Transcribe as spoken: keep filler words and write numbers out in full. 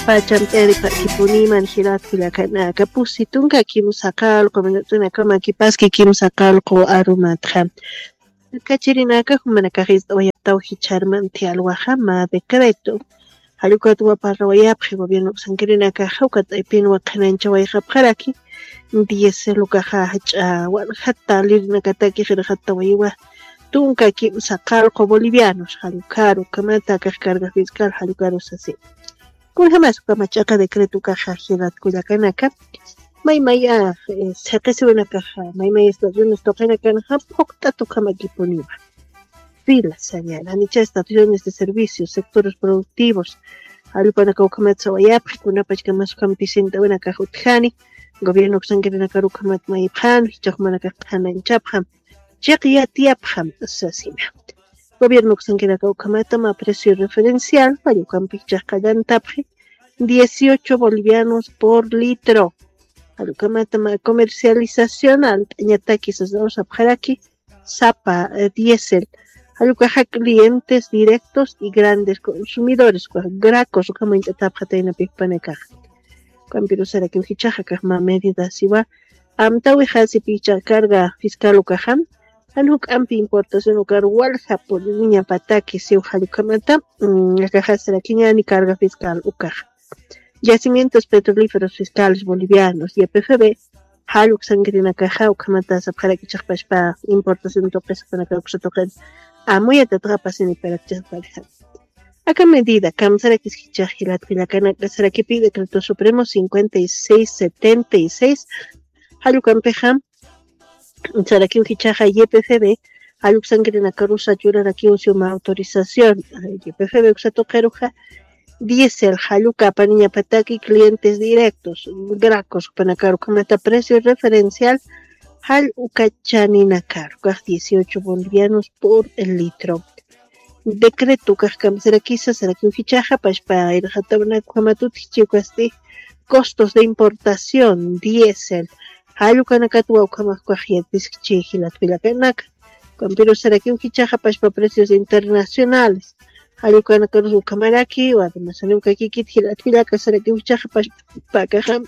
Pachamt'ayaripakipuniman jilat kullakanaka, pusi tunka kimsa qallqu minutunakama kipaski kimsa qallqu arumatxa. Kachirinaka jumanakax ist'awayaptaw jicharmanti alwaxa mä decreto. Jallukatwa parrawayapxi gobierno uksankirinakaxa ukat aypinwa qhanañchawayxapxaraki diésel ukaxa jach'a walja talirinakataki qillqatawayiwa tunka kimsa qallqu bolivianos jallukaru ukhamata akax carga fiscal jallukaru sasi. Kunjamas ukhama ch'aqa decreto ukaxa jilat kullakanaka, maymaya siqisiwinakaxa maymaya estaciones tuqinakanxa phuqt'at ukhamakipuniwa. Fila sañana nicha estaciones de servicios, sectores productivos, jallupanaka ukhamat sawayapxi kunapachkamas ukham pisint'awinakax utjani. Gobierno uksankirinakar ukhamat mayipxan jichhaxmanakax qhanañchapxam, chiqyatiyapxam sasina. Gobierno uksankiraka ukhamatama precio referencial wallukampichhax qallantapxi dieciocho bolivianos por litro. Jallukhamatama comercializacional t'añataki sasawsapxaraki sapa diésel. Jallukaxa clientes directos y grandes consumidores ukax gracos ukhamañt'atapxataynapipanakaxa. Ukampirusarakiw jichhaxa kaxma medida siwa amtawixasipicha carga fiscal ukaxam jan juk'ampi importación ukar walja puriñapataki siw jallukhamata. Akaxasarakiñani carga fiscal ukaxa. Yacimientos petrolíferos fiscales bolivianos ypfb jalluk sankirinakaxa ukhamata sapxarak'ichaxpaspa importación tuqispanaka uksatuqin amuyatatxapasiniparakichaxparixa. Aka medida kamsarakis jichhax jilatkullakanaka sarakipi decreto supremo cincuenta y seis setenta y seis jallukampixam sarakiw jichhaxa ypfb jalluk sankirinakarusa churarakiw siwma autorización. Ypfb uksatuqiruxa diésel jalluka apaniñapataki clientes directos gracos ukpanakaru ukhamata precio referencial jall ukachaninakaru ukax dieciocho bolivianos por litro. Decreto ukax kamsarakisa sarakiw jichhaxa pashpa irxatawanaka ukhamat utjichi ukasti costos de importación diésel jallukanakatwa ukhamax ukax yatiskchi jilatkullakanaka. Ukampirusarakiw jichhaxa pashpa precios internacionales jallukanakarusa ukhamaraki. Wadumasaniw kakikit jilatkullaka sarakiw jichhaxa pashpa akaxam